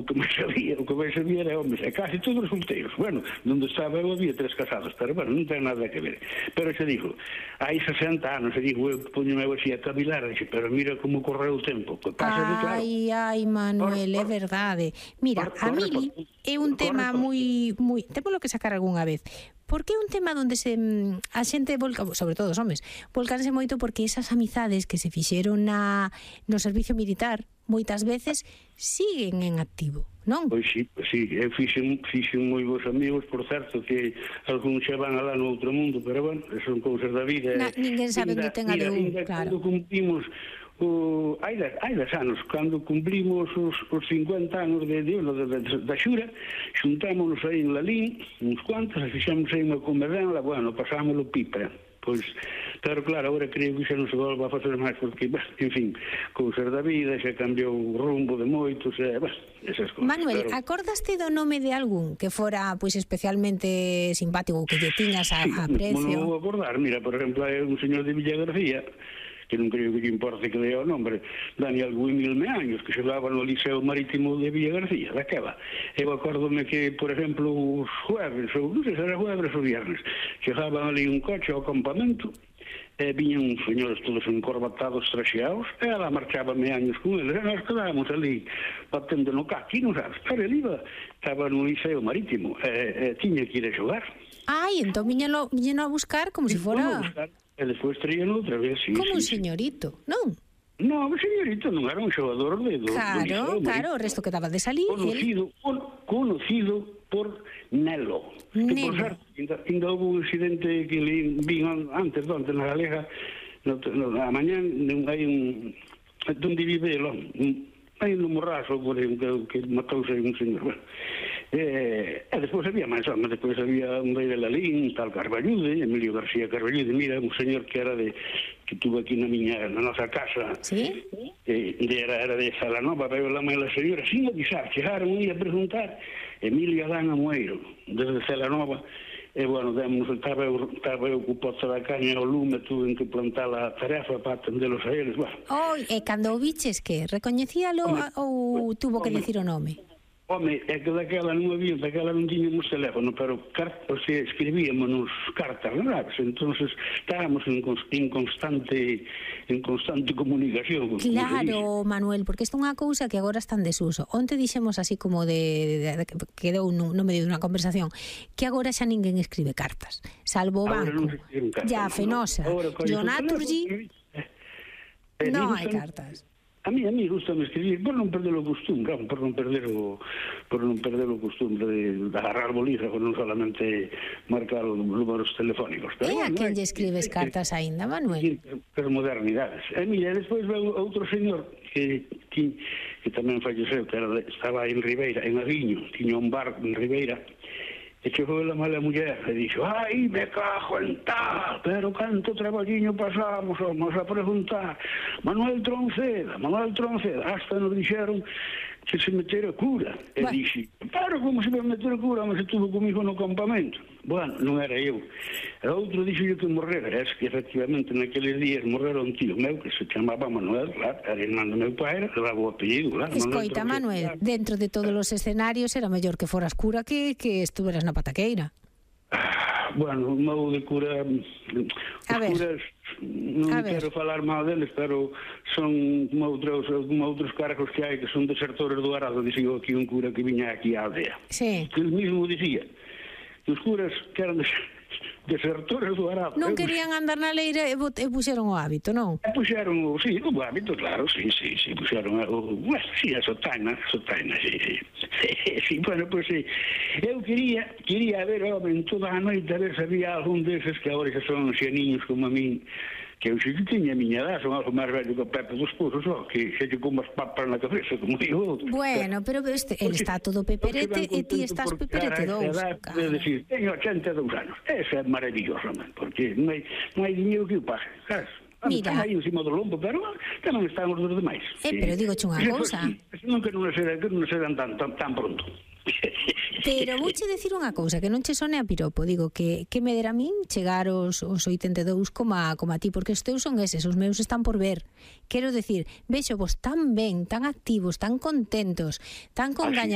o que máis sabía era homes, e casi todos solteiros. Bueno, onde estaba eu había 3 casados, pero bueno, non ten nada que ver. Pero se dijo, hai 60 anos, se dijo, eu poñome así a cavilar, dixe, pero mira como correu o tempo. Claro. Ai, Manuel, é verdade. Mira, a Mili é un tema moi... Temos lo que sacar algunha vez. Porque é un tema onde a xente volca, sobre todo os homes, volcanse moito porque esas amizades que se fixeron no servicio militar moitas veces siguen en activo, non? Pois sí, eu fixen moi bons amigos, por certo, que algúns xa van alá no outro mundo, pero bueno, son cousas da vida. Ninguén sabe onde ten a de un, claro. Cando cumplimos hai 10 anos, cando cumplimos os 50 anos da Xura, xuntámonos aí en Lalín, uns cuantos, e fixamos aí unha comerdanla, bueno, pasámoslo pipa. Pois, pero claro, agora creo que xa non se volva a facer máis, porque, en fin, cousas da vida, xa cambiou o rumbo de moitos, esas cousas. Manuel, acordaste do nome de algún que fora, pois, especialmente simpático, que lle tiñas a precio? Non vou acordar, mira, por exemplo, hai un señor de Villa García, que non creo que lle importe que dea o nombre, Daniel Guimil Meaños, que xogaba no Liceo Marítimo de Villa García, daquela. Eu acórdome que, por exemplo, os jueves, ou non sei se era jueves ou viernes, chegaban ali un coche ao campamento, e viñan uns señores todos encorbatados, traxeados, e ela marchaba Meaños con eles, e nós quedábamos ali, batendo no caqui, non sabes, pero ele estaba no Liceo Marítimo, e tiña que ir a xogar. Ai, entón viñeno a buscar como se fora... E despois traían outra vez, sí. Como un señorito, non? Non, o señorito non era un xogador do Liceo. Claro, o resto quedaba de salir. Conocido por Nelo. Que, por certo, ainda houve un incidente que vin antes na Galega, a mañán, hai un... Donde vive el home? Hai un morrazo que matouse un señor. Bueno, e despois había máis homes, despois había un rei de Lalín, tal Carballude, Emilio García Carballude, mira, un señor que era que tuvo aquí na nosa casa, ¿sí? Era de Salanova, pero la mãe da señora, sin avisar, chegaron a preguntar, Emilio Adán Amoeiro, desde Salanova, e, bueno, estaba eu co pozo da caña ao lume, tuve que plantar a tarefa para atendelos a eles, bueno. E cando o biches, que recoñecíalo ou tuvo que dicir o nome? Home, é que daquela non tiñamos teléfono, pero escribíamos cartas, non sabes? Entonces estábamos en constante comunicación. Claro, Manuel, porque isto é unha cousa que agora está en desuso. Onte dixemos así como quedou no medio dunha conversación, que agora xa ninguén escribe cartas, salvo o banco, ya Fenosa, Jonaturgi, non hai cartas. A mí gusta escribir por non perder o costumbre, por non perder o costumbre de agarrar bolígrafo, non solamente marcar os números telefónicos. E a quen lle escribes cartas aínda, Manuel? Pero modernidades. E mira, despois veu outro señor que tamén falleceu, que estaba en Ribeira, en Aviño, tiña un bar en Ribeira, e chegou a mala muller e dixo, ai, me cajo en tal, pero canto traballiño pasamos, vamos a preguntar, Manuel Tronceda, hasta nos dixeron que se metera cura. E dixi, pero como se vai meter cura, mas estuvo comigo no campamento. Bueno, non era eu. E outro dixo que morrera, es que efectivamente naqueles días morrera un tío meu que se chamaba Manuel, claro, era irmán do meu pai, era o apellido, claro. Escoita, Manuel, dentro de todos os escenarios era mellor que foras cura que estuveras na pataqueira. Bueno, un modo de cura, os curas non quero falar mal deles, pero son outros cargos que hai que son desertores do arado, dixo aquí un cura que viña aquí á aldea. Sí. Que el mismo dicía que os curas que eran desertores do arado. Non querían andar na leira e puxeron o hábito, non? Puxeron o hábito, claro, sí, puxeron a sotaina, sí, bueno, pois sí. Eu quería ver, en toda a noite, a ver se había algún deses que agora xa son xeniños como a min, que eu xe que tiña a miña edad, son algo máis velho que o Pepe dos Pozos, que xa lle como as papas na cabeza, como digo outro. Bueno, pero ele está todo peperete e ti estás peperete dous. É dicir, teño 82 anos, eso é maravilloso, porque non hai dinheiro que o pague, sabes? Mira, están aí encima do lombo, pero tamén están os dos demais. Pero digo unha cousa. Non que non se dan tan pronto. Pero vouche decir unha cousa, que non che sone a piropo. Digo que me dera a min chegar os 82 como a ti, porque os teus son eses, os meus están por ver. Quero decir, vexo vos tan ben, tan activos, tan contentos, tan con gañas